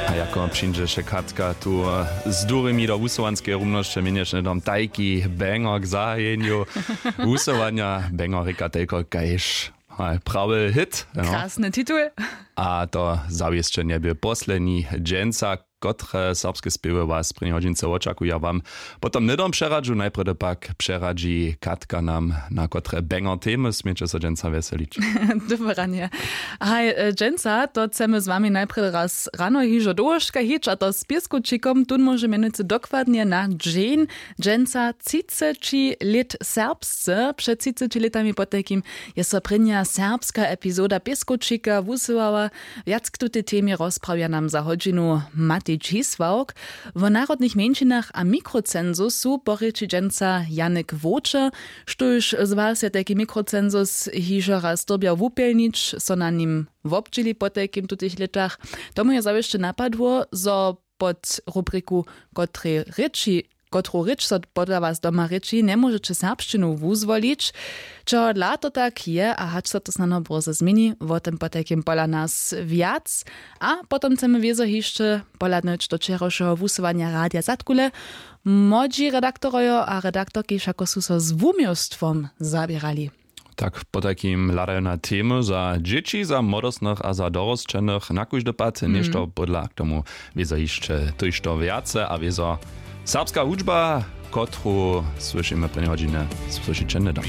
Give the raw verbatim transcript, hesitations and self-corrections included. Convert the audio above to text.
A jako přińdźeše Katka tu z durimi do wusowanskeje rumnosće, měnješe hnydom tajki banger k zahajenju wusowanja. Banger rěka tajko kaž prawy hit. Krasny titul. A to zawěsće njebě posledni dźensa, kotre serbske spěwy was prěni hodźince wočakuja wam potom hnydom přeradźu. Najprjedy pak přeradźi Katka nam, na kotre banger temy směće so dźensa wjeselić. Dobre ranje. Haj, dźensa to chcemy z wami najprjedy raz rano hižo dołhoška hić, a to z pěskowčikom. Tón móže mjenujcy dokładnje na dźeń dźensa třiceći lět serbsce. Před třiceći lětami potajkim je so prěnja serbska epizoda pěskowčika wusyłała. Wjac k tutej temje rozprawja nam za hodźinu Matej Čisławk. Wo narodnych mjeńšinach a mikrocensusu porěči dźensa Janik Wočer. Štóž z was je tajki mikrocensus hižo raz dyrbjał wupjelnić, so na nim wobdźěli po tajkim tutych lětach? Tomu je zawěsće napadło, zo pod rubriku kotrej rěči kotru rěč so podla was doma rěči, njemóžeće serbšćinu wuzwolić. Čehodla to tak je a hač so to snano bórze změni, wo tym potajkim pola nas wjac. A potom chcemy wězo hišće pohladnyć do wčerawšeho wusyłanja radija zadkule. Młodźi redaktorojo a redaktorki wšako su so z wuměłstwom zaběrali. Tak potajkim hladajo na temy za dźěći, za młodostnych a za dorosćenych na kóždy pad něšto podla. K tomu wězo hišće tójšto wjace a wězo serbska hudźba, kotru słyšimy prěnje hodźiny, słyšiće hnydom.